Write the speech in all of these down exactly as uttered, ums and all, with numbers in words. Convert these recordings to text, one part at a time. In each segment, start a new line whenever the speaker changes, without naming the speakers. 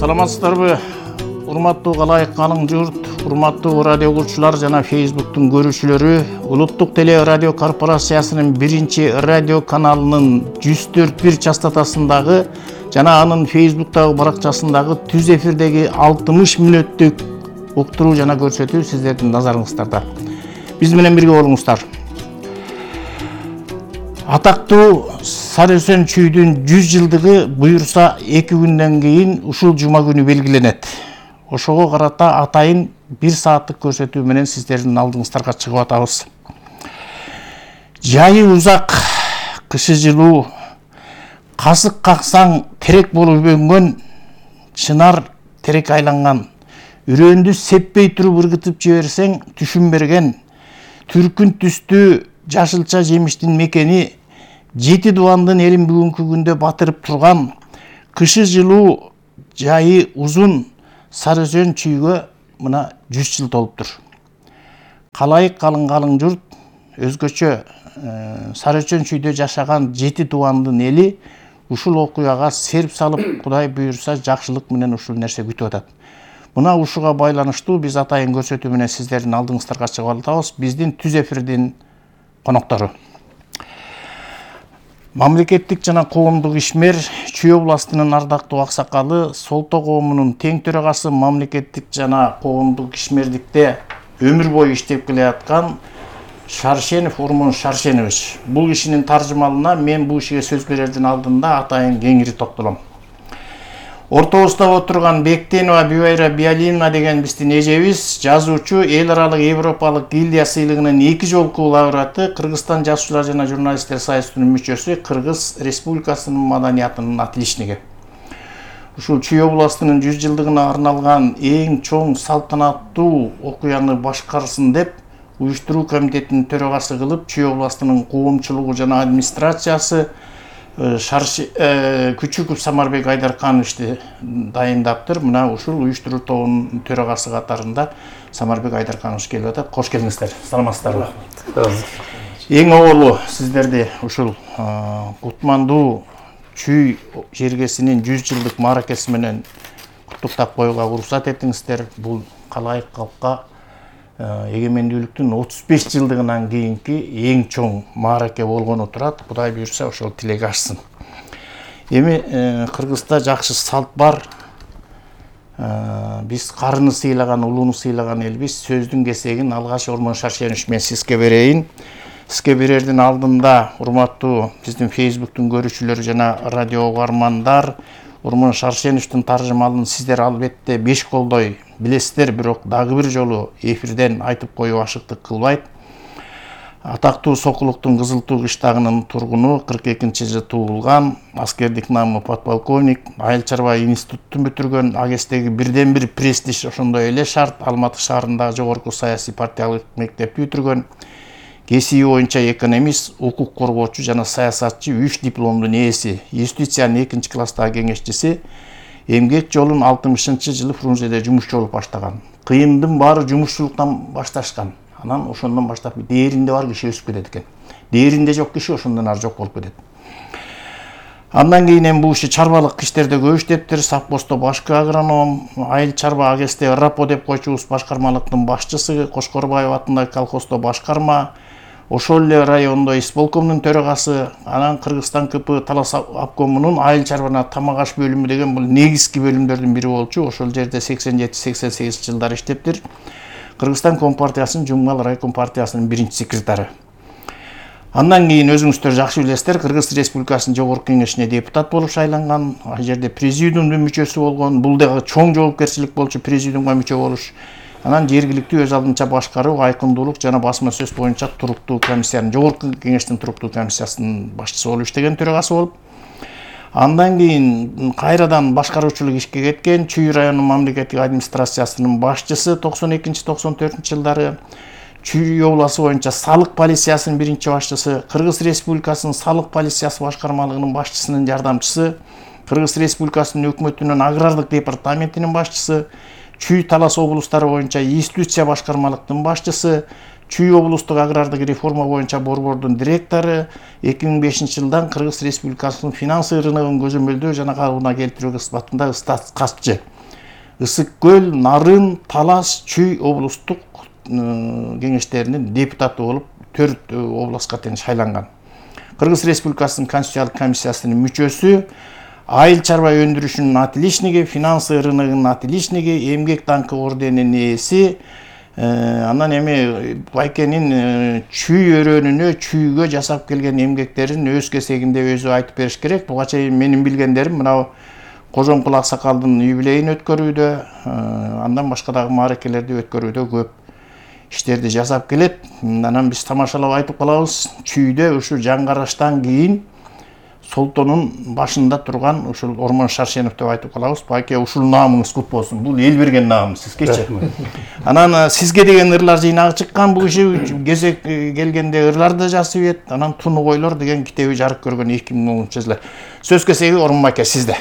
Саламатсыздарбы? Урматтуу Калайык Калың журт, урматтуу радио угуучулар жана Фейсбуктун көрүүчүлөрү, Улуттук теле радио корпорациясынын биринчи радио каналынын жүз төрт бир частотасындагы жана анын Фейсбуктагы баракчасындагы түз эфирдеги алтымыш мүнөттүк уктуруу жана көрсөтүү сиздердин назарыңыздарда. Биз менен бирге болуңуздар. Атактуу Сарыөзөн чүйдүн жүз жылдыгы буюрса эки күндөн кийин ушул жума күнү белгиленет. Ошого карата атайын бир сааттык көрсөтүү менен сиздердин алдыңыздарга чыгып атабыз. Жайы узак, кышы жылуу, касык каксаң терек болуп өнгөн, чынар терек айланган, үрөндү сеппей туруп ыргытып жиберсең түшүн берген, түркүн түстүү жашылча жемиштин мекени, жети дубандын элин бүгүнкү күндө батырып турган, кышы жылуу, жайы узун Сарыөзөн чүйгө мына жүз жыл толуптур. Калайык Калың Калың журт, өзгөчө Сарыөзөн чүйдө жашаган жети дубандын эли ушул окуяга серп салып, Кудай буйрса жакшылык менен ушул нерсе күтүп атат. Мына ушуга байланыштуу биз атайын көрсөтүү менен сиздердин алдыңыздарга чыгып атабыз. Биздин түз эфирдин коноктору. Мамлекеттик жана коомдук ишмер, Чүй областынын ардактуу аксакалы, Солто коомунун тең төрагасы, мамлекеттик жана коомдук ишмердикте өмүр бою иштеп келаткан Шаршенов Урмун Шаршенович. Бул кишинин таржымалына мен бул ишиге сөз берердин алдында атайын кеңири токтолом. Ортобузда отурган Бектенова Бибайра Биалиевна деген биздин эжебиз, жазуучу, эл аралык Европалык гильдия сыйлыгынын эки жолку лауреаты, Кыргызстан жазуучулар жана журналисттер союзунун мүчөсү, Кыргыз Республикасынын маданиятынын атилишниги. Ушул Чүй областынын жүз жылдыгына арналган эң чоң салтанаттуу окуяны башкарсын деп уюштуруу комитетинин төрагасы кылып, Чүй областынын коомчулугу жана администрациясы Күчүков Самарбек Айдаркановичти дайындаптыр. Мына ушул уюштуруу тобунун төрагасы катарында Самарбек Айдарканович келип атат. Кош келиңиздер. Саламатсыздарбы? Эң оболу сиздерди ушул кутмандуу Чүй жергесинин жүз жылдык мааракеси менен куттуктап коюуга уруксат этиңиздер. Бул Калайык калкка эгемендүүлүктүн отуз беш жылдыгынан кийинки эң чоң маараке болгону турат. Кудай буйрса ошол тилек ашсын. Эми Кыргызда жакшы салт бар. Биз карыны сыйлаган, улууну сыйлаган элбиз. Сөздүн кесегин алгач Урмун Шаршенович мен сизге берейин. Сизге берердин алдында урматтуу биздин Фейсбуктун көрүүчүлөрү жана радио угармандар, Урмун Шаршеновичтин таржымалын сиздер албетте беш колдой билесиздер, бирок дагы бир жолу эфирден айтып коюу ашыктык кылбайт. Атактуу Сокулуктун Кызыл Туу кыштагынын тургуну, кырк экинчи жылы туулган, аскердик намы подполковник, айыл чарба институттун бүтүргөн, Агестеги бирден бир престиж ошондой эле шарт, Алматы шаарындагы жогорку саясий партиялык мектепти бүтүргөн, кесиби боюнча экономист, укук коргоочу жана саясатчы, үч дипломдун ээси, юстициянын экинчи класстагы кеңешчиси, эмгек жолун алтымышынчы жылы Фрунзеде жумушчу болуп баштаган. Кыйындын баары жумушчулуктан башташкан. Анан ошондон баштап дээринде бар киши өсүп кетет экен. Дээринде жок киши ошондон ары жок болуп кетет. Андан кийин эми бул иши чарбалык иштерде көп иштептир. Совхоздо башкы агроном, айыл чарба агесте РАПО деп койчубуз башкармалыктын башчысы, Кошкорбаев атындагы колхоздо башкарма, ошол эле райондо исполкомдун төрагасы, анан Кыргызстан КП Талас обкомунун айыл чарбана тамак аш бөлүмү деген бул негизги бөлүмдөрдүн бири болчу. Ошол жерде сексен жети сексен сегиз жылдары иштептир. Кыргызстан Компартиясынын Жумгал райком партиясынын биринчи секретары. Андан кийин өзүңүздөр жакшы билесиздер, Кыргыз Республикасынын жогорку кеңешине депутат болуп шайланган, ал жерде президиумдун мүчөсү болгон. Бул дагы чоң жоопкерчилик болчу президиумга мүчө болуш. Анан жергиликтүү өз алдынча башкаруу, айкындуулук жана басма сөз боюнча туруктуу комиссиянын, жогорку кеңештин туруктуу комиссиясынын башчысы болуп иштеген, төрагасы болуп. Андан кийин кайрадан башкаруучулук ишке кеткен, Чүй районунун мамлекеттик администрациясынын башчысы токсон экинчи токсон төртүнчү жылдары, Чүй областы боюнча салык полициясынын биринчи башчысы, Кыргыз Республикасынын салык полициясы башкармалыгынын башчысынын жардамчысы, Кыргыз Республикасынын өкмөтүнүн агрардык департаментинин башчысы, Чүй Талас облустары боюнча институция башкармалыктын башчысы, Чүй облустук агрардык реформа боюнча борбордун директору, эки миң бешинчи жылдан Кыргыз Республикасынын финансы рыногун көзөмөлдөө жана калыбына келтирүү кызматында статс катчы. Ысык көл, Нарын, Талас, Чүй облустук кеңештеринин депутаты болуп төрт областка тең шайланган. Кыргыз Республикасынын Конституциялык комиссиясынын мүчөсү, айыл чарба өндүрүшүнүн отличниги, финансы рыногунун отличниги, эмгек даңкы орденинин ээси, анан эми Байкенин чүй өрөөнүнө, чүйгө жасап келген эмгектерин өз кесегинде өзү айтып бериш керек. Буга чейин менин билгендерим мына Кожомкул аксакалдын юбилейин өткөрүүдө, андан башка дагы мааракелерди өткөрүүдө көп иштерди жасап келет. Анан биз тамашалап айтып калабыз, чүйдө ушу жаңгараштан кийин Солтонун башында турган ушул Ормон Шаршенов деп айтып калабыз. Байке, ушул наамыңыз кут болсун. Бул эл берген наам сизгечи. Анан сизге деген ырлар жыйнагы чыккан, бул киши кезек келгенде ырларды жазып ийет. Анан Туну койлор деген китеби жарык көргөн эки миң онунчу жылы. Сөз кезеги Ормон байке сизде.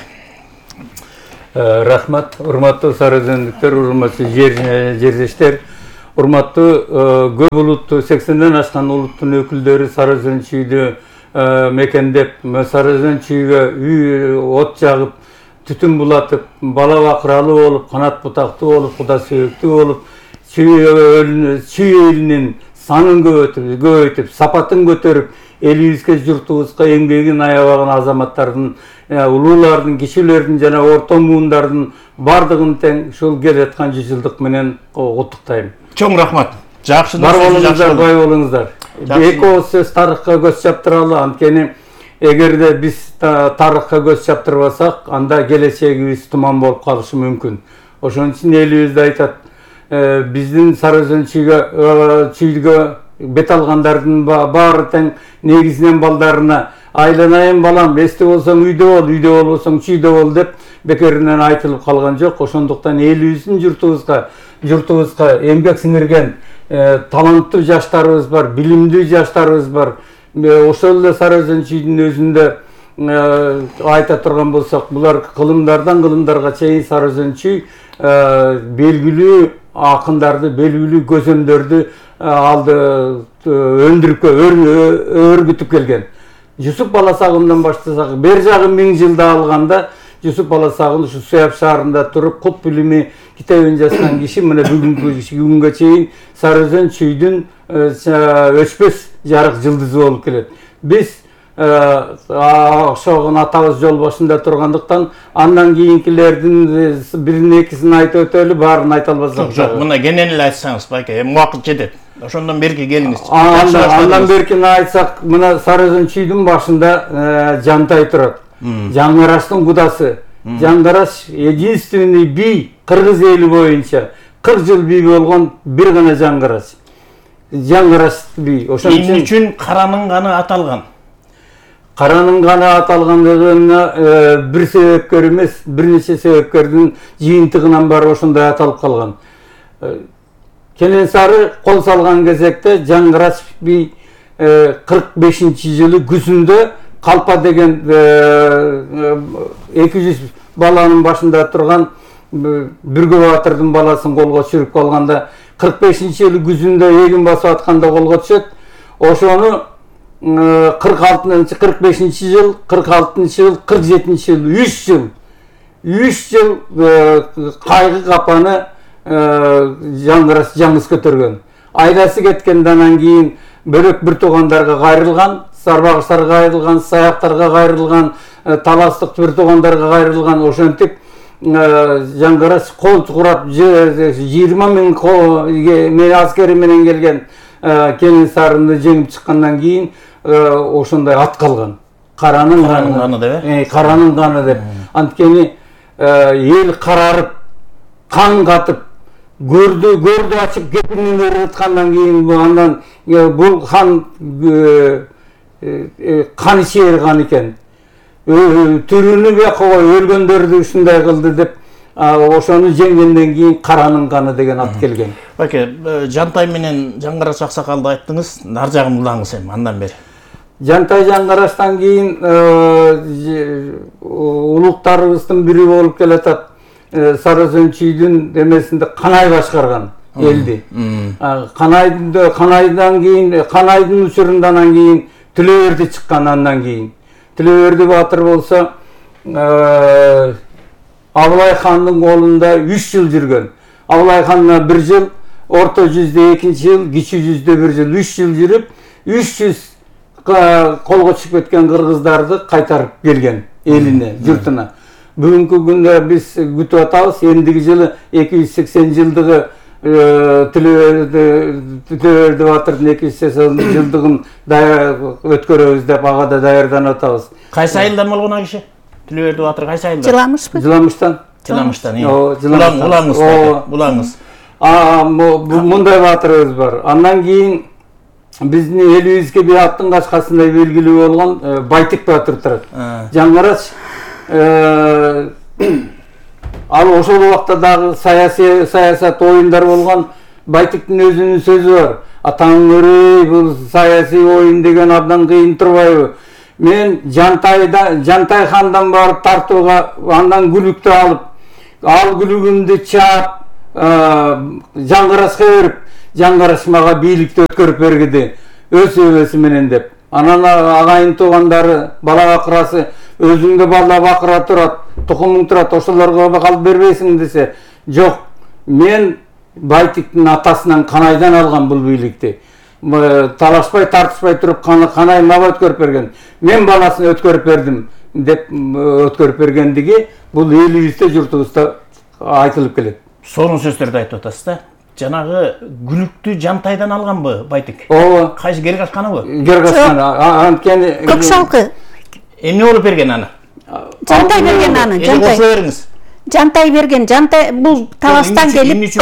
Рахмат, урматтуу сары өзөндүктөр, урматтуу жердештер, урматтуу көп улуттуу сексенден ашкан улуттун өкүлдөрү Сары Өзөн чүйдү мекендеп, Сары Өзөн чүйгө үй от жагып, түтүн булатып, бала бакыралуу болуп, канат бутактуу болуп, куда сүйөктүү болуп, чүй элинин санын көбөйтүп, сапатын көтөрүп, элибизге, журтубузга эмгегин аябаган азаматтардын, улуулардын, кишилердин жана орто муундардын бардыгын тең ушул келаткан жүз жылдык менен куттуктайм.
Чоң рахмат. Жакшы
бар болуңуздар, бай болуңуздар. Эки ооз сөз тарыхка көз чаптыралы, анткени эгерде биз тарыхка көз чаптырбасак, анда келечегибиз туман болуп калышы мүмкүн. Ошон үчүн элибизде айтат, биздин Сары Өзөн чүйгө бет алгандардын баары тең негизинен балдарына айланайын балам, эсте болсоң үйдө бол, үйдө болбосоң чүйдө бол деп бекеринен айтылып калган жок. Ошондуктан элибиздин журтубузга, журтубузга эмгек сиңирген таланттуу жаштарыбыз бар, билимдүү жаштарыбыз бар. Ошол эле Сары Өзөн чүйдүн өзүндө айта турган болсок, булар кылымдардан кылымдарга чейин Сары Өзөн чүй белгилүү акындарды, белгилүү көзөмдөрдү алды өндүрүп, өргүтүп келген. Жусуп Баласагындан баштасак, бер жагы миң жылда алганда Жусуп Баласагын ушу Суяб шаарында туруп кут билими китебин жазган киши мына бүгүнкү күнгө чейин Сары Өзөн чүйдүн өчпөс жарык жылдызы болуп келет. Биз ошогун атабыз жол башында тургандыктан андан кийинкилердин бирин экисин айтып өтөлү, баарын айта албасак.
Жок, мына кенен эле айтсаңыз, байке, эми убакыт жетет. Ошондон берки келиңиз.
Андан беркини айтсак, мына Сары Өзөн чүйдүн башында Жантай турат. Жаңгараштын кудасы. Жаңгараш единственный бий кыргыз эли боюнча кырк жыл бий болгон бир гана жаңгараш. Жаңгараш бий.
Ошон үчүн каранын ганы аталган.
Каранын ганы аталгандыгына бир себепкер эмес, бир нече себепкердин жыйынтыгынан бары ошондой аталып калган. Кененсары кол салган кезекте жаңгараш бий кырк бешинчи жылы күзүндө Калпа деген эки жүз баланын башында турган Бүргө Батырдын баласын колго түшүрүп калганда кырк бешинчи жылы күзүндө эгин басып атканда колго түшөт. Ошону кырк алтынчы кырк бешинчи жыл, кырк алтынчы жыл, кырк жетинчи жыл, үч жыл. үч жыл кайгы капаны жаңгараш жаңыз көтөргөн. Айласы кеткенден анан кийин бөлөк бир туугандарга кайрылган, Сарбагыштарга кайрылган, Саяктарга кайрылган, Таластык бир туугандарга кайрылган. Ошентип жаңгараш кол курап жыйырма миң аскери менен келген Кененсарыны жеңип чыккандан кийин ошондой ат калган. Каранын ганы деп, э, каранын ганы деп. Анткени эл карарып, кан катып, көрдү көрдү ачып кепинин берип аткандан кийин андан бул хан кан ичер кан экен. Түрүнү бияка кой, өлгөндөрдү ушундай кылды деп ошону жеңгенден кийин Каранын каны деген ат келген.
Байке, Жантай менен Жаңгараш аксакалды айттыңыз, нар жагын улаңыз эми андан бери.
Жантай Жаңгараштан кийин улуктарыбыздын бири болуп келатат. Сары Өзөн чүйдүн эмесинде Канай башкарган. элди. Канайдын Канайдан кийин Канайдын учурунда анан кийин Тилөберди чыккан, андан кийин Тилөберди баатыр болсо Абылай хандын колунда үч жыл жүргөн. Абылай хандан бир жыл, орто жүздө экинчи жыл, кичи жүздө бир жыл, үч жыл жүрүп, үч жүз колго түшүп кеткен кыргыздарды кайтарып келген элине, журтуна. Бүгүнкү күндө биз күтүп атабыз, эндиги жылы эки жүз сексен жылдыгы Тилөберди баатырдын эки жүз сексен жылдыгын өткөрөбүз деп ага да даярданып атабыз.
Кайсы айылдан болгон а киши? Тилөберди баатыр кайсы айылдан?
Жыламышпы?
Жыламыштан.
Жыламыштан, иә. Булаңыз, булаңыз.
Мындай баатырыбыз бар. Андан кийин биздин элибизге бир аттын качкасындай белгилүү болгон Байтик баатыр турат. Жаңгарач ал ошол убакта дагы саясий саясат оюндар болгон. Байтиктин өзүнүн сөзү бар. Атаң өрөй, бул саясий оюн деген абдан кыйын турбайбы? Мен Жантайда Жантай хандан барып тартууга, андан күлүктү алып, ал күлүгүмдү чаап, Жаңгарашка берип, Жаңгараш мага бийликти өткөрүп бергиди, өз өбөсү менен деп. Анан агайын туугандары, бала бакырасы, өзүңдө бала бакыра турат, тукумуң турат, ошолорго калып бербейсиң десе, жок. Мен Байтиктин атасынан Канайдан алган бул бийликти. Талашпай, тартышпай туруп Канай мага өткөрүп берген. Мен баласын өткөрүп бердим деп өткөрүп бергендиги бул элибизде, журтубузда айтылып келет.
Сонун сөздөрдү айтып атасыз да. Жанагы күлүктү Жантайдан алганбы Байтик?
Ооба.
Кайсы Гергашканыбы?
Гергашкан. Анткени
Көк шалкы.
Эмне болуп берген аны?
Жантай берген аны, Жантай.
Кошо бериңиз.
Жантай берген, Жантай бул таластан келип,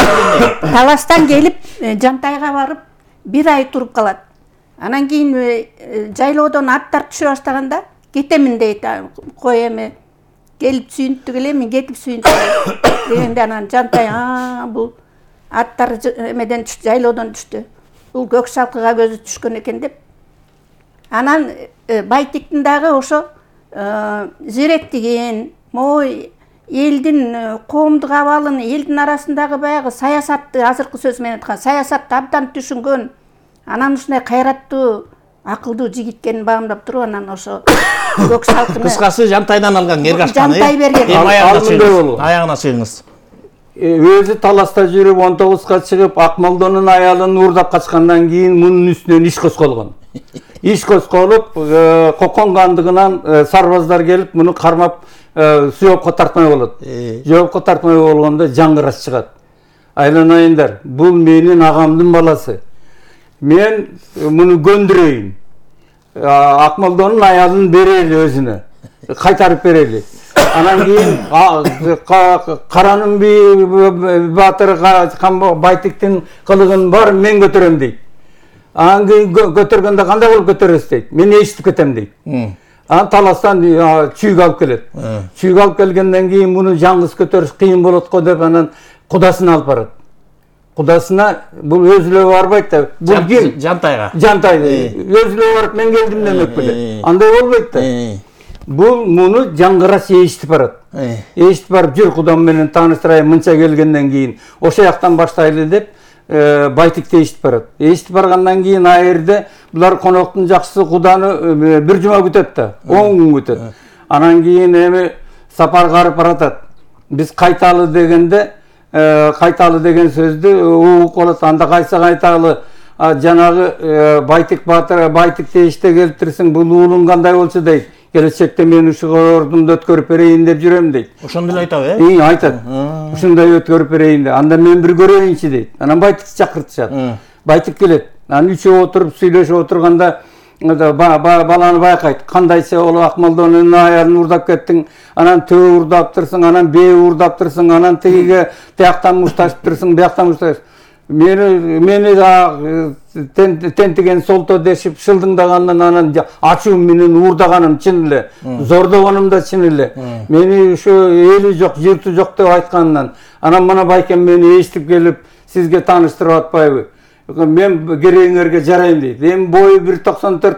таластан келип Жантайга барып бир ай туруп калат. Анан кийин жайлоодон аттар түшө баштаганда кетемин дейт. Кой эми келип сүйүнтүп келем, кетип сүйүнтүп дегенде анан Жантай а бул аттар эмеден түштү, жайлоодон түштү. Бул көк шалкыга көзү түшкөн экен деп. Анан Байтиктин дагы ошо зеректигин, мой элдин коомдук абалын, элдин арасындагы баягы саясатты, азыркы сөз менен айткан, саясатты абдан түшүнгөн. Анан ушундай кайраттуу, акылдуу жигит экенин баамдап туруп, анан ошо көк шалкыны
кыскасы Жантайдан алган Гергашканы.
Жантай берген.
Аягына чыгыңыз.
Өзү таласта жүрүп он тогузга чыгып, Акмолдонун аялын уурдап качкандан кийин мунун үстүнөн иш козголгон. Иш козголуп, Кокон кандыгынан сарбаздар келип, муну кармап жоопко тартмай болот. Жоопко тартмай болгондо Жаңгараш чыгат. Айланайындар, бул менин агамдын баласы. Мен муну көндүрөйүн. Акмолдонун аялын берели өзүнө. Кайтарып берели. Анан кийин Каранын баатыр Байтиктин кылыгын бар мен көтөрөм дейт. Анан кийин көтөргөндө кандай болуп көтөрөсүз дейт. Мен эшитип кетем дейт. Анан таластан чүйгө алып келет. Чүйгө алып келгенден кийин муну жаңгыз көтөрүш кыйын болот го деп анан кудасына алып барат. Кудасына бул өзүлө барбайт да. Бул ким?
Жантайга.
Жантай. Өзүлө барып мен келдим демек беле. Андай болбойт да. Бул муну Жаңгараш эшитип барат. Эшитип барып жүр кудам менен тааныштырайын, мынча келгенден кийин ошо жактан баштайлы деп Байтикти эшитип барат. Эшитип баргандан кийин а жерде булар коноктун жакшысы куданы бир жума күтөт да, он күн күтөт. Анан кийин эми сапар карып баратат. Биз кайталы дегенде, кайталы деген сөздү угуп калат. Анда кайсы кайталы? Жанагы Байтик баатыр, Байтикти эшите келтирсең, бул уулуң кандай болчу дейт. Келечекте мен ушул ордумду өткөрүп берейин деп жүрөм дейт.
Ошондой эле айтабы, э?
Ий, айтат. Ушундай өткөрүп берейин деп. Анда мен бир көрөйүнчү дейт. Анан Байтикти чакыртышат. Байтик келет. Анан үчөө отуруп сүйлөшүп отурганда баланы байкайт. Кандайча ол Акмолдонун аялын уурдап кеттиң, анан төө уурдаптырсың, анан бээ уурдаптырсың, анан тигиге тияктан мушташыптырсың, бияктан мушташып. Мени мени да тентиген солто дешип шылдыңдагандан анан ачуу менен уурдаганым чын эле, зордогонум да чын эле. Мени ушу эли жок, жырту жок деп айтканынан анан мына байкем мени эшитип келип сизге тааныштырып атпайбы? Мен керегиңерге жарайм дейт. Эми бою бир токсон төрт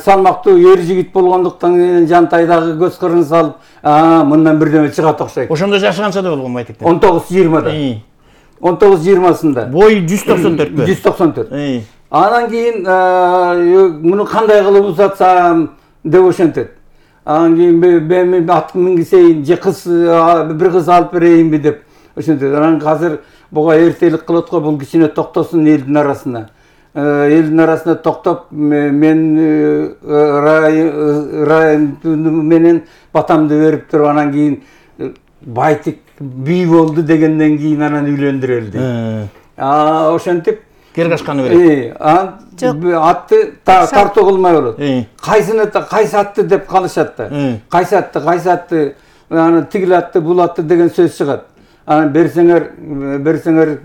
салмактуу эр жигит болгондуктан кийин Жантайдагы көз кырын салып, а мындан бирдеме чыгат окшойт.
Ошондо жашы канчада болгон Байтик?
он тогуз жыйырмада. он тогуз жыйырмасында.
Бой жүз токсон төртпү?
жүз токсон төрт. Анан кийин муну кандай кылып узатсам деп ошентет. Анан кийин мен ат мингизейин же кыз бир кыз алып берейинби деп ошентет. Анан азыр буга эртелик кылат го, бул кичине токтосун элдин арасына. Элдин арасында токтоп мен райым менен батамды берип туруп, анан кийин Байтик бий болду дегенден кийин анан үйлөндүрөлдү. А ошентип
Кергашканы берет.
Анан атты тартуу кылмай болот. Кайсыны кайсы атты деп калышат да. Кайсы атты, кайсы атты, аны тигил атты, бул атты деген сөз чыгат. Анан берсеңер, берсеңер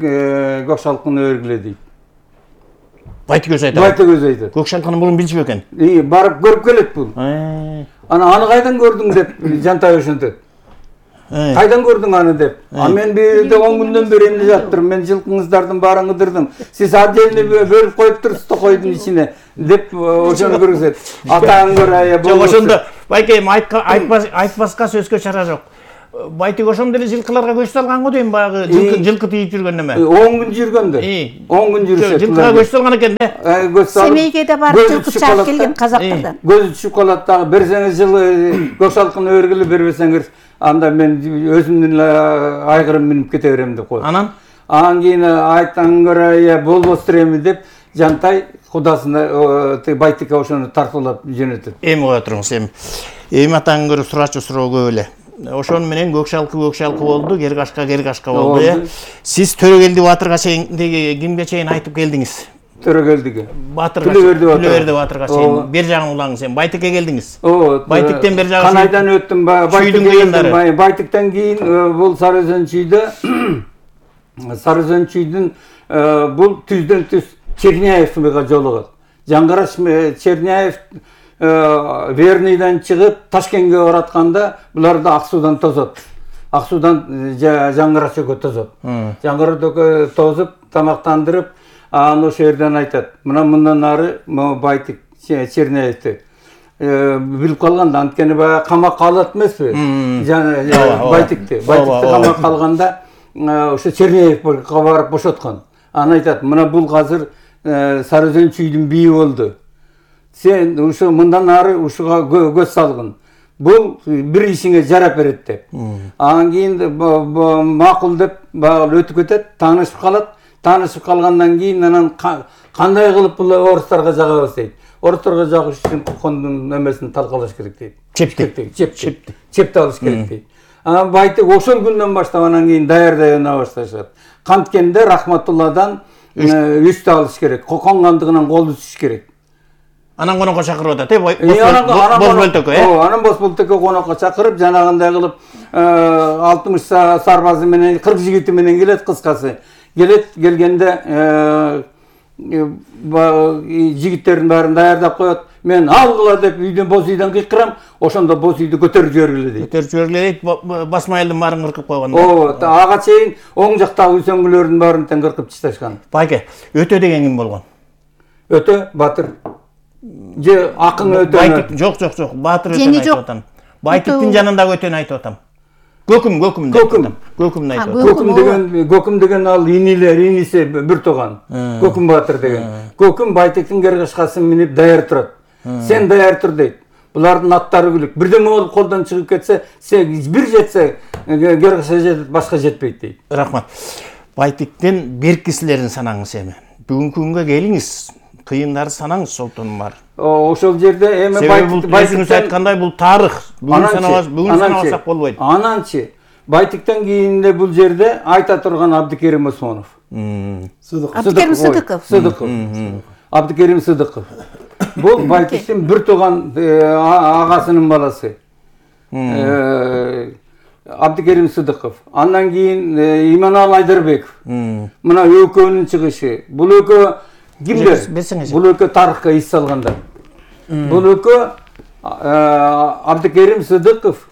Көкшалкыны өргүлө дейт.
Байтик өзү айтат.
Байтик өзү айтат.
Көкшалкыны мурун билчү бекен?
Барып көрүп келет бул. Анан аны кайдан көрдүң деп Жантай ошентет. Кайдан көрдүң аны деп. А мен бир жерде он күндөн бери эмне жаттырмын. Мен жылкыңыздардын баарын кыдырдым. Сиз отдельно бөлүп коюп туруңуз койдун ичине деп ошону көрсөт. Атаң көрөй.
Жок, ошондо байкем айтпаска сөзгө чара жок. Байтик ошондо эле жылкыларга көч салган го дейм, баягы жылкы тийип жүргөн неме.
он күн жүргөндө. он күн жүрүшөт.
Жылкыга көч салган экен да.
Семейге да барып жылкы чаап келген казактардан.
Көзү түшүп калат дагы. Берсеңиз жылы Көкшалкыны өргүлө, бербесеңиз анда мен өзүмдүн айгырым минип кете берем деп коет.
Анан?
Анан кийин айтаң көрөй, болбостур эми деп Жантай кудасына Байтикке ошону тартуулап жөнөтөт.
Эми кое туруңуз, эми. Эми атаң көрө сурачу суроо көп эле. Ошон менен Көкшалкы Көкшалкы болду, Кергашка Кергашка болду, э. Сиз Төрөгелди батырга чейин кимге чейин айтып келдиңиз?
Төрөгелдиге.
Батырга. Түлөберди батырга чейин. Бер жагын улаңыз, сен Байтикке келдиңиз. Байтиктен бер жагы.
Канайдан өттүм, Байтиктен Байтиктен кийин бул Сары Өзөн чүйдө Сары Өзөн чүйдүн бул түздөн түз Черняевга жолугат. Жаңгараш Черняев Верныйдан чыгып Ташкентке баратканда буларды Ак суудан тозот. Ак суудан Жаңгарашөккө тозот. Жаңгарашөккө тозуп, тамактандырып, анан ошол жерден айтат. Мына мындан ары Байтик Черняевди билип калганда, анткени баягы камакка алат эмеспи? Байтикти. Байтикти камакка алганда ошо Черняевге барып бошоткон. Анан айтат, мына бул азыр Сары Өзөн чүйдүн бийи болду. Сен ушу мындан ары ушуга көз салгын. Бул бир ишиңе жарап берет деп. Анан кийин макул деп баягы өтүп кетет, таанышып калат. Таанышып калгандан кийин анан кандай кылып бул орустарга жагабыз дейт. Орустарга жагыш үчүн кондун эмесин талкалаш керек дейт.
Чепти.
Чепти. Чепти алыш керек дейт. Анан Байтик ошол күндөн баштап анан кийин даярдай өнө башташат. Канткенде Рахматулладан үстү алыш керек. Конгандыгынан кол үзүш керек.
Анан конокко чакырып атат, э? Бозбөлтөккө, э?
Ооба, анан Бозбөлтөккө конокко чакырып, жанагындай кылып алтымыш сарбазы менен, кырк жигити менен келет, кыскасы. Келет, келгенде жигиттердин баарын даярдап коет. Мен алгыла деп үйдөн боз үйдөн кыйкырам, ошондо боз үйдү көтөрүп жибергиле дейт.
Көтөрүп жибергиле дейт, басмайылдын баарын кыркып койгон.
Ооба, ага чейин оң жактагы үйсөңгүлөрдүн баарын тең кыркып ташташкан.
Байке, Өтө деген ким болгон?
Өтө Батыр. Же акын Өтө.
Байтик, жок, жок, жок, Батыр Өтөнү айтып атам. Байтиктин жанындагы Өтөнү айтып атам. Көкүм, Көкүм деп атам. Көкүмдү айтып атам.
Көкүм деген, Көкүм деген ал инилер, иниси бир тууган. Көкүм Батыр деген. Көкүм Байтиктин Кергашкасын минип даяр турат. Сен даяр тур дейт. Булардын аттары күлүк. Бирдеме болуп колдон чыгып кетсе, сен бир жетсе Кергашка жетет, башка жетпейт дейт.
Рахмат. Байтиктен беркисилерин санаңыз эми. Бүгүнкү күнгө келиңиз. Кыйындарды санаңыз, Солтонун бар.
Ошол жерде эми
Байтик айткандай бул тарых. Бүгүн санабас, бүгүн санабасак болбойт.
Ананчы Байтиктен кийин эле бул жерде айта турган Абдыкерим Осмонов.
Абдыкерим Сыдыков.
Сыдыков. Абдыкерим Сыдыков. Бул Байтиктин бир тууган агасынын баласы. Абдыкерим Сыдыков. Андан кийин Иманалы Айдарбеков. Мына экөөнүн чыгышы. Бул экөө кимдер? Бул экөө тарыхка эс салгандар. Бул экөө Абдыкерим Сыдыков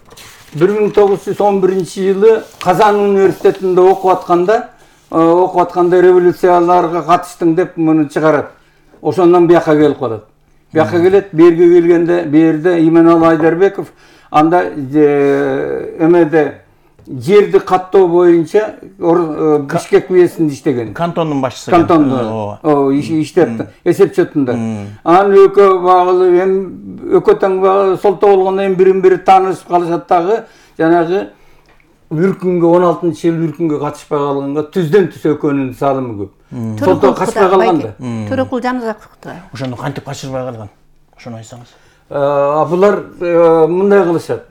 бир миң тогуз жүз он биринчи жылы Казан университетинде окуп атканда, окуп атканда революцияларга катыштым деп муну чыгарат. Ошондон бияка келип калат. Бияка келет, берге келгенде, бу жерде Иманалы Айдарбеков анда эмеде жерди каттоо боюнча Бишкек уездинде иштеген.
Кантондун башчысы.
Кантондун. О, иштеп эсепчотунда. Анан экөө багылы эми экөө таң солто болгондон кийин бирин-бири таанышып калышат дагы, жанагы үркүнгө он алтынчы жыл үркүнгө катышпай калганга түздөн түз экөөнүн салымы көп. Солто качпай калганда.
Төрөкул Жанызаковду.
Ошону кантип качырбай калган? Ошону айтсаңыз.
А булар мындай кылышат.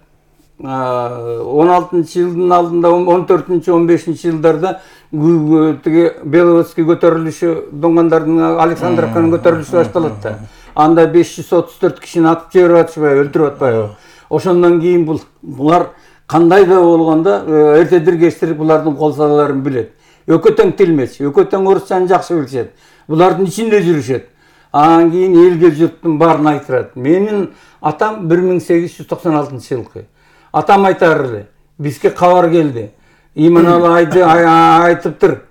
он алтынчы жылдын алдында он төртүнчү он бешинчи жылдарда тиги Беловодский көтөрүлүшү доңгандардын Александровканын көтөрүлүшү башталат да. Анда беш жүз отуз төрт кишини атып жиберип атышпайбы, өлтүрүп атпайбы. Ошондон кийин бул булар кандай да болгондо эртедир кечтир булардын кол салаларын билет. Экөө тең тилмеч, экөө тең орусчаны жакшы билишет. Булардын ичинде жүрүшөт. Анан кийин элге журттун баарын айтырат. Менин атам бир миң сегиз жүз токсон алтынчы жылкы. Атам айтар эле, бизге кабар келди. Иманалы айтыптыр,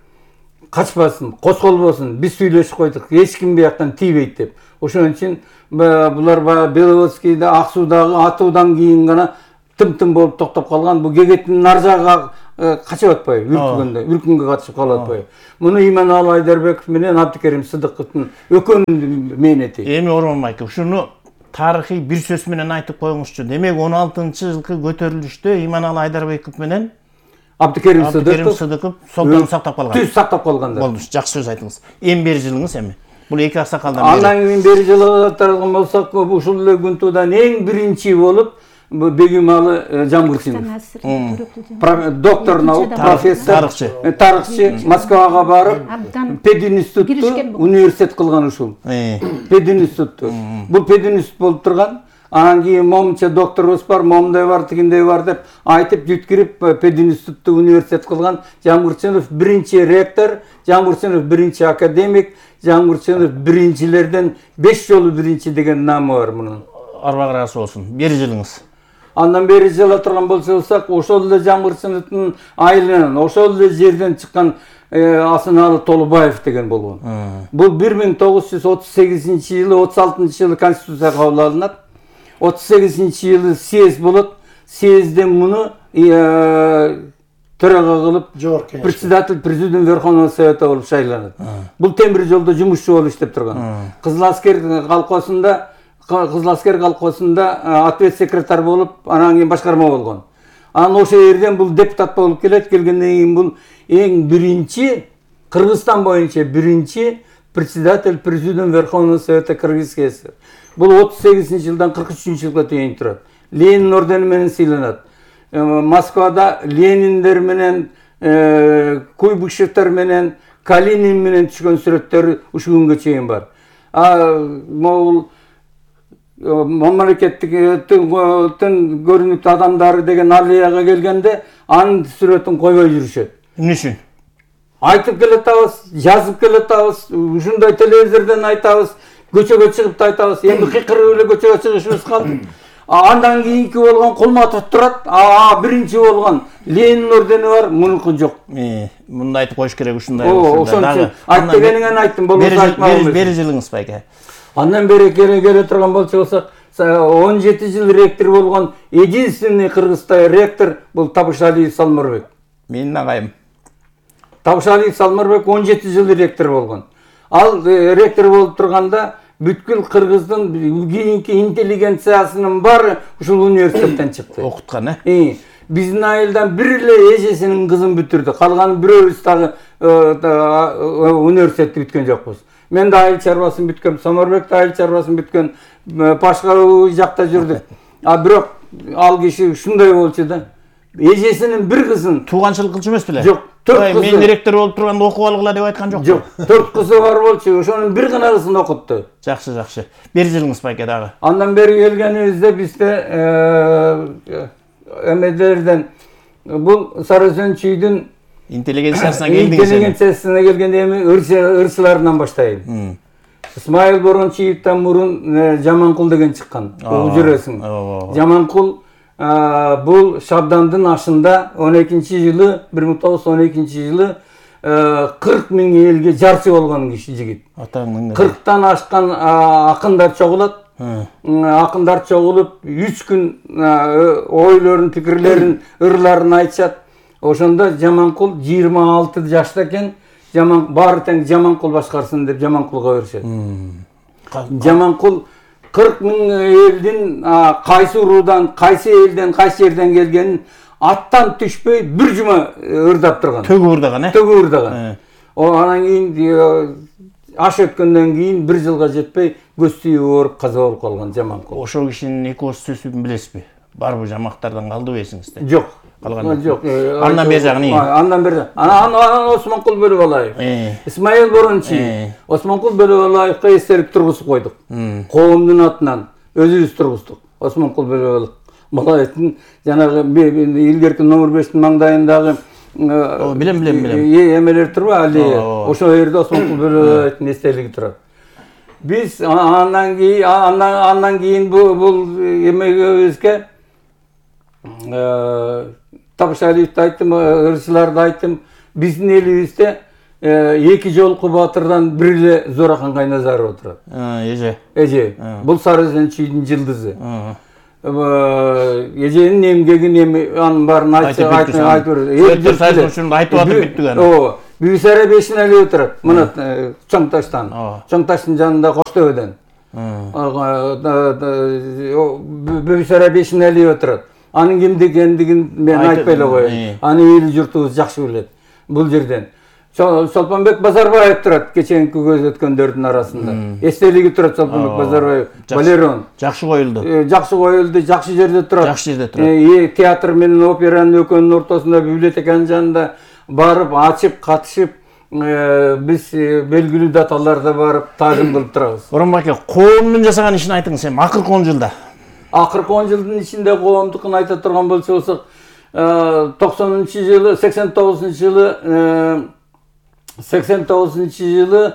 качпасын, козголбосун, биз сүйлөшүп койдук, эч ким бияктан тийбейт деп. Ошон үчүн булар Беловодскийде ак суудагы атуудан кийин гана тым-тым болуп токтоп калган. Бул Гегеттин нар жагына качып атпайбы, үркүнгөндө, үркүнгө катышып калып атпайбы. Муну Иманалы Айдарбеков менен Абдыкерим Сыдыковдун экөөнүн мээнети.
Эми Ормон майке, ушуну тарыхый бир сөз менен айтып коюңузчу. Демек он алтынчы жылкы көтөрүлүштө Иманалы Айдарбеков менен
Абдыкерим Сыдыков
Сыдыков солтонду сактап калган.
Түз сактап калгандар.
Болду, жакшы сөз айтыңыз. Эми бери жылыңыз эми. Бул эки аксакалдан
бери. Андан кийин бери жылга таралган болсок, ушул эле күнтуудан эң биринчи болуп Бегималы Жамгурчинов. Доктор наук, профессор, тарыхчы. Тарыхчы Москвага барып, пединститутту университет кылган ушул. Пединститутту. Бул пединститут болуп турган. Анан кийин момча докторубуз бар, момундай бар, тигиндей бар деп айтып жүткүрүп пединститутту университет кылган. Жамгурчинов биринчи ректор, Жамгурчинов биринчи академик, Жамгурчинов биринчилерден беш жолу биринчи деген намы бар мунун.
Арбагырасы болсун. Бери жылыңыз.
Андан бери жыла турган болсок, ошол эле Жамгурчиновдун айылынан, ошол эле жерден чыккан Асыналы Толубаев деген болгон. Бул бир миң тогуз жүз отуз сегизинчи жылы, отуз алтынчы жылы конституция кабыл алынат. отуз сегизинчи жылы съезд болот. Съездден муну төрага кылып председатель Президиум Верховного Совета болуп шайланат. Бул темир жолдо жумушчу болуп иштеп турган. Кызыл аскер колхозунда Кызыл аскер колхозунда ответ секретарь болуп, анан кийин башкарма болгон. Анан ошол жерден бул депутат болуп келет. Келгенден кийин бул эң биринчи Кыргызстан боюнча биринчи председатель Президиум Верховного Совета Кыргызской ССР. Бул отуз сегизинчи жылдан кырк үчүнчү жылга чейин турат. Ленин ордени менен сыйланат. Москвада Лениндер менен, Куйбышевтер менен, Калинин менен түшкөн сүрөттөр ушул күнгө чейин бар. А могул мамлекеттиктин көрүнүктүү адамдары деген аллеяга келгенде анын сүрөтүн койбой жүрүшөт.
Эмне үчүн?
Айтып келатабыз, жазып келатабыз, ушундай телевизордон айтабыз, көчөгө чыгып да айтабыз. Эми кыйкырып эле көчөгө чыгышыбыз калды. Андан кийинки болгон Кулматов турат, а биринчи болгон Ленин ордени бар, мунуку жок.
Мунду айтып коюш керек ушундай.
Ошон үчүн айт дегениңен айттым, болбосо айтмагым.
Бери жылыңыз байке.
Андан бери келе келе турган болсок, он жети жыл ректор болгон единственный Кыргызстан ректор бул Табышалиев Салмырбек.
Менин агайым.
Табышалиев Салмырбек он жети жыл ректор болгон. Ал ректор болуп турганда бүткүл Кыргыздын кийинки интеллигенциясынын баары ушул университеттен чыкты.
Окуткан, э?
Биздин айылдан бир эле эжесинин кызын бүтүрдү. Калган бирөөбүз дагы университетти бүткөн жокпуз. Мен да айыл чарбасын бүткөм, Самарбек да айыл чарбасын бүткөн, башка жакта жүрдүк. А бирок ал киши ушундай болчу да. Эжесинин бир кызын
тууганчылык кылчу эмес беле?
Жок, төрт кызы.
Мен ректор болуп турганда окуп алгыла деп айткан жок.
Жок, төрт кызы бар болчу, ошонун бир гана кызын окутту.
Жакшы, жакшы. Бери жылыңыз байке дагы.
Андан бери келгенибизде бизде эмедерден бул Сарызөнчүйдүн
интеллигенциясына келдиңиз.
Интеллигенциясына келгенде эми ырчыларынан баштайын. Исмайыл Борончиевден мурун Жаманкул деген чыккан. Жүрөсүң. Жаманкул бул Шабдандын ашында он экинчи жылы, бир миң тогуз жүз он экинчи жылы кырк миң элге жарчы болгон киши жигит. кырктан ашкан акындар чогулат. Акындар чогулуп үч күн ойлорун, пикирлерин, ырларын айтышат. Ошондо Жаманкул жыйырма алты жашта экен, Жаман баары тең Жаманкул башкарсын деп Жаманкулга беришет. Жаманкул кырк миң элдин кайсы уруудан, кайсы элден, кайсы жерден келгенин аттан түшпөй бир жума ырдап турган.
Төгү ырдаган, э?
Төгү ырдаган. О анан кийин аш өткөндөн кийин бир жылга жетпей көз түйүп ооруп каза болуп калган Жаманкул.
Ошол кишинин эки ооз сөзүн билесизби? Барбы жамактардан калдыбы эсиңизде?
Жок.
Калган
жок.
Андан бери жагы эмне?
Андан бери. Анан Осмонкул Бөлөбалаев. Исмаил Борончи. Осмонкул Бөлөбалаевга эстелик тургузуп койдук. Коомдун атынан өзүбүз тургуздук. Осмонкул Бөлөбалаевдин жанагы илгерки номер бештин маңдайындагы
билем билем билем.
Эмелер турбу аллея. Ошол жерде Осмонкул Бөлөбалаевдин эстелиги турат. Биз андан кийин андан кийин бул эмегебизге Табышалиевди айттым, ырчыларды айттым. Биздин элибизде эки жолку баатырдан бир эле Зурахан Кайназаров отурат.
Эже.
Эже. Бул Сары Өзөн чүйдүн жылдызы. Эженин эмгегин эми анын баарын айтып айтып
берет. Айтып айтып бүттүк аны.
Ооба. Бүйсара бешинели отурат. Мына Чоң таштан. Чоң таштын жанында Коштөбөдөн. Бүйсара бешинели отурат. Анын кимде экендигин мен айтпай эле коеюн. Аны эли журтубуз жакшы билет. Бул жерден Чолпонбек Базарбаев турат, кечээинки көз өткөндөрдүн арасында. Эстелиги турат Чолпонбек Базарбаев, Валерон.
Жакшы коюлду.
Жакшы коюлду, жакшы жерде турат.
Жакшы жерде турат.
Театр менен операнын экөөнүн ортосунда библиотеканын жанында барып, ачып, катышып, биз белгилүү даталарда барып таажим кылып турабыз.
Боронбай аке, коомдун жасаган ишин айтыңыз, эми акыркы он жылда.
Акыркы он жылдын ичинде коомдукун айта турган болсок, токсонунчу жылы, сексен тогузунчу жылы, сексен тогузунчу жылы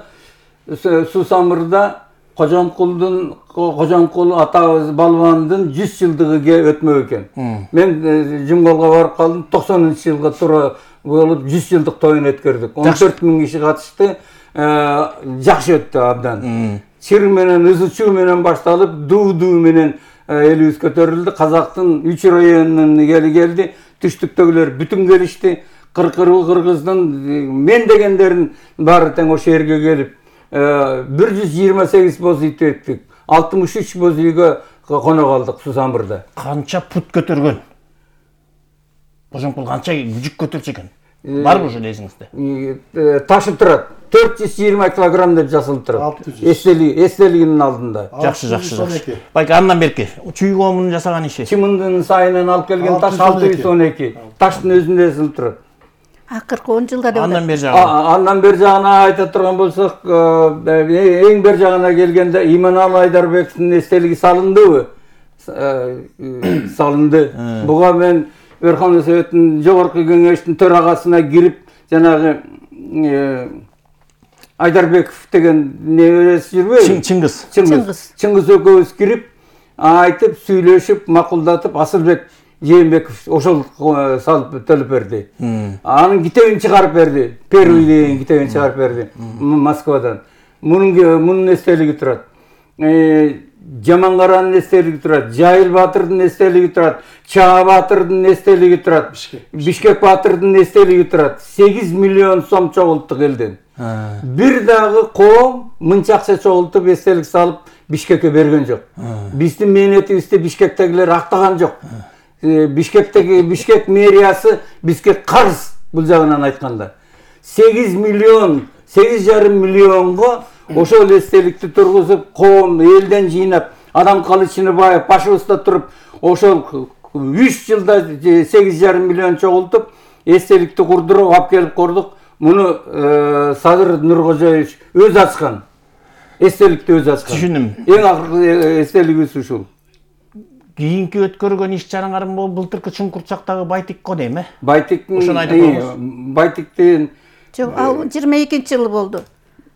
Сусамырда Кожомкулдун Кожомкул атабыз балбандын жүз жылдыгы өтмөк экен. Мен Жумголго барып калдым, токсонунчу жылга туура болуп жүз жылдык тоюн өткөрдүк. он төрт миң киши катышты. Жакшы өттү абдан. Чыр менен, ызы-чуу менен башталып, дуу-дуу менен элибиз көтөрүлдү. Казактын үч районунун эли келди. Түштүктөгүлөр бүтүн келишти. Кыргыздын мен дегендерин баары тең ошол жерге келип, бир жүз жыйырма сегиз боз ит өттүк. алтымыш үч боз үйгө конок алдык Сусамырда.
Канча пут көтөргөн? Кожомкул канча жүк көтөрчү экен? Барбы ошол эсиңизде?
Ташып турат. төрт жүз жыйырма килограмм деп жазылып турат. Эстелиги, эстелигинин алдында.
Жакшы, жакшы, жакшы. Байке, андан берки, чүй коомунун жасаган иши.
Чымындын сайынан алып келген таш алты жүз он эки. Таштын өзүндө жазылып турат.
Акыркы он жылда деп.
Андан бери жагы.
Андан бери жагына айта турган болсок, эң бери жагына келгенде Иманалы Айдарбековдун эстелиги салындыбы? Салынды. Буга мен Верховный Советтин жогорку кеңештин төрагасына кирип, жанагы Айдарбеков деген неберesi жүрбөйбү?
Чыңгыз.
Чыңгыз.
Чыңгыз экөөбүз кирип, айтып, сүйлөшүп, макулдатып, Асылбек Жээнбеков ошол салып төлөп берди. Анын китебин чыгарып берди. Первый деген китебин чыгарып берди Москвадан. Мунун мунун эстелиги турат. Жамангаранын эстелиги турат, Жайыл Батырдын эстелиги турат, Чаа Батырдын эстелиги турат, Бишкек Батырдын эстелиги турат. сегиз миллион сом чогулттук элден. Бир дагы коом мынча акча чогултуп эстелик салып Бишкекке берген жок. Биздин мээнетибизди Бишкектегилер актаган жок. Бишкектеги Бишкек мэриясы бизге карыз бул жагынан айтканда. сегиз миллион, сегиз жарым миллионго ошол эстеликти тургузуп, коом элден жыйнап, Адам Калычыныбаев башыбызда туруп, ошол үч жылда сегиз жарым миллион чогултуп, эстеликти курдуруп, алып келип курдук. Муну Садыр Нуркожоевич өз ачкан. Эстеликти өз ачкан.
Түшүндүм.
Эң акыркы эстелигибиз ушул.
Кийинки өткөргөн иш чараңарым бул былтыркы Чуңкурчактагы Байтик го дейм, э?
Байтиктин
ошону айтып коебуз.
Байтиктин
Жок, ал жыйырма экинчи жылы болду.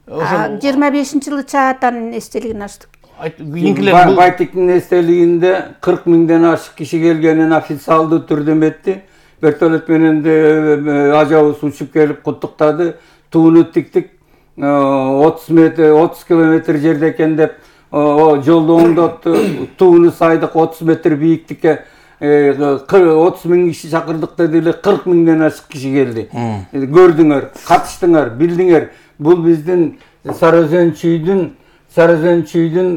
жыйырма бешинчи жылы Чаатанын эстелигин ачтык.
Кийинкилер
Байтиктин эстелигинде кырк миңден ашык киши келгенин официалдуу түрдө эметти. Вертолет менен де ажабыз учуп келип куттуктады. Тууну тиктик. отуз метр, отуз километр жерде экен деп жолду оңдотту. Тууну сайдык отуз метр бийиктикке отуз миң киши чакырдык деди эле, кырк миңден ашык киши келди. Көрдүңөр, катыштыңар, билдиңер. Бул биздин Сары Өзөн чүйдүн Сары Өзөн чүйдүн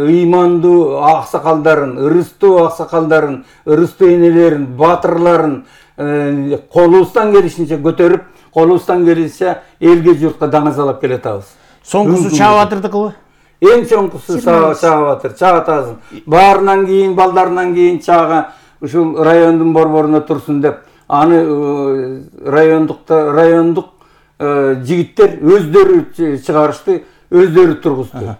ыймандуу аксакалдарын, ырыстуу аксакалдарын, ырыстуу энелерин, батырларын колубуздан келишинче көтөрүп, колубуздан келишинче элге журтка даңазалап келатабыз.
Соңкусу чаап атырдыкыбы?
Эң чоңкусу чаап атыр, чаап атасың. Баарынан кийин, балдарынан кийин чаага ушул райондун борборуна турсун деп, аны райондукта райондук жигиттер өздөрү чыгарышты, өздөрү тургузду.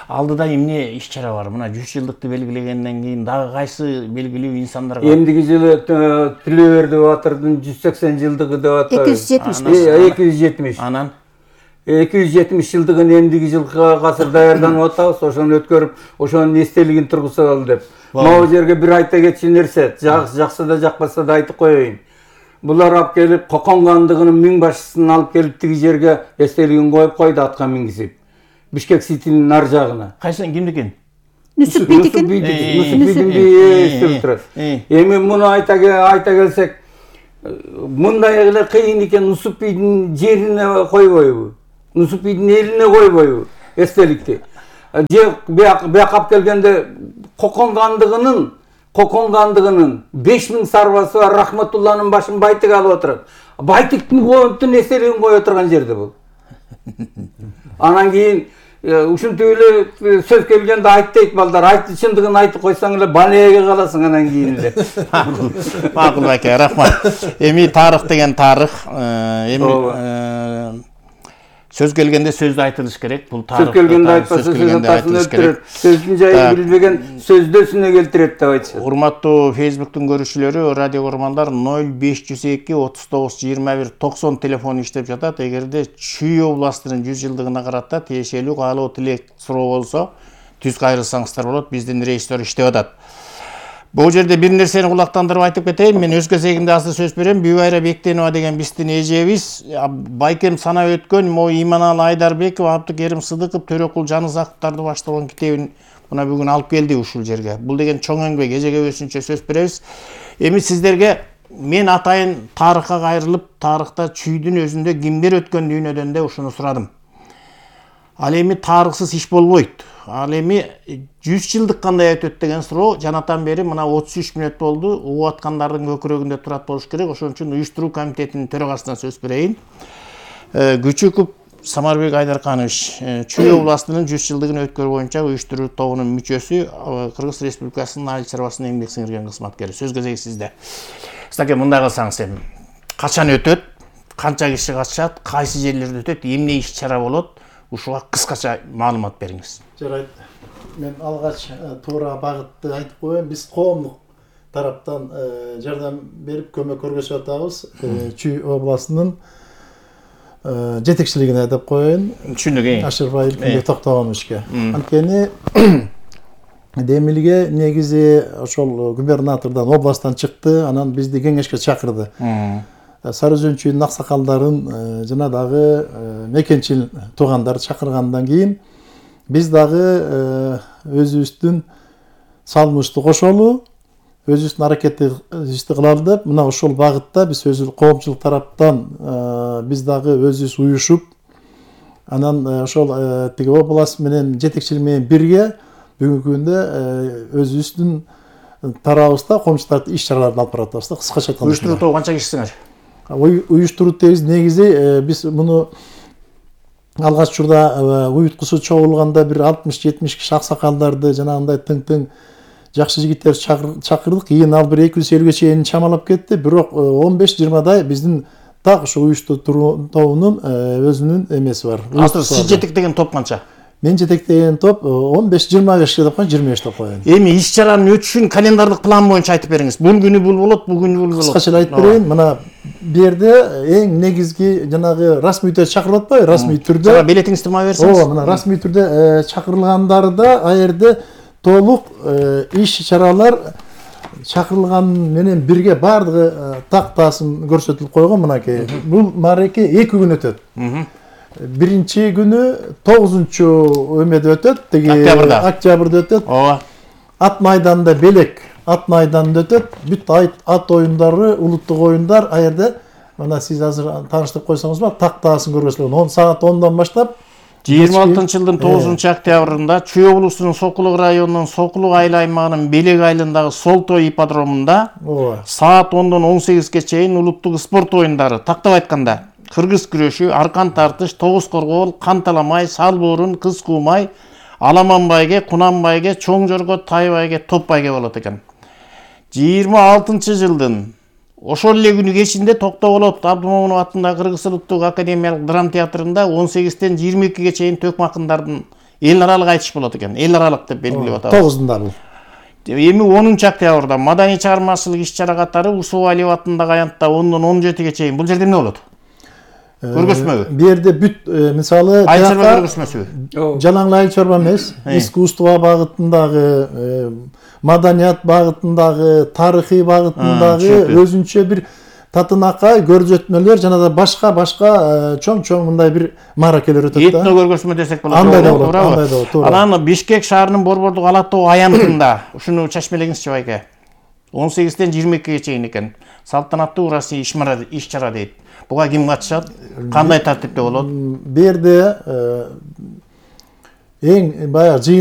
Алдыда эмне иш-чара бар? Мына жүз жылдыкты белгилегенден кийин дагы кайсы белгилүү инсандарга?
Эмдиги жылы Тилөберди Батырдын жүз сексен жылдыгы деп атат.
эки жүз жетимиш.
эки жүз жетимиш.
Анан
эки жүз жетимиш жылдыгын эмдиги жылга азыр даярданып атабыз, ошону өткөрүп, ошонун эстелигин тургузалы деп. Могу жерге бир айта кетчү нерсе, жакса да жакпаса да айтып коеюн. Булар алып келип, Кокон хандыгынын миң башчысын алып келип тиги жерге эстелигин коюп койду, атка мингизип. Бишкек Ситинин ар жагына.
Кайсы кимдикен?
Нүсүпбийдикин.
Нүсүпбийдин бийи эстелип турат. Эми муну айта айта келсек, мындай эле кыйын экен, Нүсүпбийдин жерине койбойбу? Нүсүпбийдин элине койбойбу эстеликти? Же бияка алып келгенде Кокон хандыгынын Кокон хандыгынын беш миң сарбазы бар, Рахматулланын башын Байтик алып отурат. Байтиктин коюптун эстелигин кое отурган жерде бул. Анан кийин ушинтип эле сөз келгенде айт дейт балдар, айт чындыгын айтып койсоң эле балеге каласың анан кийин эле.
Макул байке, рахмат. Эми тарых деген тарых, эми сөз келгенде сөздү айтылыш керек. Бул тарых.
Сөз келгенде айтпаса сөздүн айтылыш керек. Сөздүн жайын билбеген сөздөсүнө келтирет деп айтышат.
Урматтуу Facebook-тун көрүүчүлөрү, радио көрөрмандар, ноль беш жүз эки отуз тогуз жыйырма бир токсон телефону иштеп жатат. Эгерде Чүй областынын жүз жылдыгына карата тиешелүү каалоо тилек суроо болсо, түз кайрылсаңыздар болот. Биздин рейстер иштеп атат. Бул жерде бир нерсени кулактандырып айтып кетейин. Мен өз кезегимде азыр сөз берем. Бүйбайра Бектенова деген биздин эжебиз, байкем санап өткөн могу Иманалы Айдарбеков, Абдыкерим Сыдыков, Төрөкул Жанызаковдарды баштаган китебин мына бүгүн алып келди ушул жерге. Бул деген чоң эмгек, эжеге өзүнчө сөз беребиз. Эми сиздерге мен атайын тарыхка кайрылып, тарыхта Чүйдүн өзүндө кимдер өткөн дүйнөдөн да ушуну сурадым. Ал эми тарыхсыз иш болбойт. Ал эми жүз жылдык кандай өтөт деген суроо жанатан бери мына отуз үч мүнөт болду. Угуп аткандардын көкүрөгүндө турат болуш керек. Ошон үчүн уюштуруу комитетинин төрагасына сөз берейин. Күчүков Самарбек Айдарканович, Чүй областынын жүз жылдыгын өткөрүү боюнча уюштуруу тобунун мүчөсү, Кыргыз Республикасынын айыл чарбасынын эмгек сиңирген кызматкери. Сөз кезеги сизде. Сизге мындай кылсаңыз эми, качан өтөт, канча киши катышат, кайсы жерлерде өтөт, эмне иш-чара болот? Ушуга кыскача маалымат бериңиз.
Жарайт. Мен алгач туура багытты айтып коеюн. Биз коомдук тараптан жардам берип көмөк көргөзүп атабыз. Чүй областынын жетекчилигине деп коеюн.
Түшүндүк.
Ашырбаев Токтогоновичке. Анткени Демилге негизи ошол губернатордон областтан чыкты, анан бизди кеңешке чакырды. Сары Өзөн чүйдүн аксакалдарын жана дагы мекенчил туугандар чакыргандан кийин биз дагы өзүбүздүн салымыбызды кошолу, өзүбүздүн аракетибизди кылалы деп, мына ошол багытта биз өзү коомчулук тараптан биз дагы өзүбүз уюшуп, анан ошол тиги область менен жетекчилик менен бирге бүгүнкү күндө өзүбүздүн тарабыбызда коомчулуктарды иш-чараларды алып баратабыз да, кыскача айтканда.
Уюштуруу тобу канча кишисиңер?
Уюштуруу тегиз негизи биз муну алгач учурда уюткусу чогулганда бир алтымыш жетимиш киши аксакалдарды жанагындай тың-тың жакшы жигиттерди чакырдык. Кийин ал бир эки жүз элүүгө чейин чамалап кетти. Бирок он беш жыйырмадай биздин так ушу уюштуруу тобунун өзүнүн эмеси бар.
Азыр сиз жетектеген топ канча?
Мен жетектеген топ он беш жыйырма беш деп коюн, жыйырма беш деп коюн.
Эми иш-чаранын өтүшүн календардык план боюнча айтып бериңиз. Бул күнү бул болот, бул күнү бул болот.
Кыскача айтып берейин. Мына бу жерде эң негизги жанагы расмий түрдө чакырып атпайбы? Расмий түрдө.
Жана билетиңизди ма берсеңиз?
Ооба, мына расмий түрдө чакырылгандарда а жерде толук иш-чаралар чакырылган менен бирге баардыгы тактасын көрсөтүлүп койгон. Мынакей бул мареке эки күн өтөт. Биринчи күнү тогузунчу өмөдө өтөт, теги октябрда өтөт. Ооба. Ат майданында белек ат майданында өтөт. Бүт ат оюндары, улуттук оюндар а жерде мына сиз азыр тааныштырып койсоңузбу, тактаасын көргөзүлгөн. он саат ондон баштап
жыйырма алтынчы жылдын тогузунчу октябрында Чүй облусунун Сокулук районунун Сокулук айыл аймагынын Белек айылындагы Солтой ипподромунда саат ондон он сегизге чейин улуттук спорт оюндары, тактап айтканда кыргыз күрөшү, аркан тартыш, тогуз коргоол, кан таламай, сал боорун, кыз куумай, аламан байге, кунан байге, чоң жорго, тай байге, топ байге болот экен. жыйырма алтынчы жылдын ошол эле күнү кечинде Токтогулот Абдымомунов атындагы Кыргыз улуттук академиялык драма театрында он сегизден жыйырма экиге чейин төкмө акындардын эл аралык айтыш болот экен. Эл аралык деп белгилеп атабыз.
тогузунда бул.
Эми онунчу октябрда маданий чыгармачылык иш-чара катары Усубалиев атындагы аянтта ондон он жетиге чейин. Бул жерде эмне болот? Көргөзмөбү?
Бу жерде бүт мисалы
айыл чарба көргөзмөсүбү?
Жалаң айыл чарба эмес, искусство багытындагы, маданият багытындагы, тарыхый багытындагы өзүнчө бир татынакай көрсөтмөлөр жана да башка башка чоң-чоң мындай бир мааракелер өтөт да.
Этно көргөзмө десек болот.
Андай да болот, андай да болот.
Анан Бишкек шаарынын Борбордук Ала тоо аянтында ушуну чечмелеңизчи байке. он сегизден жыйырма экиге чейин экен. Салтанаттуу урасый иш-чара дейт. Буга ким катышат? Кандай тартипте болот?
Бу жерде эң баягы жыйын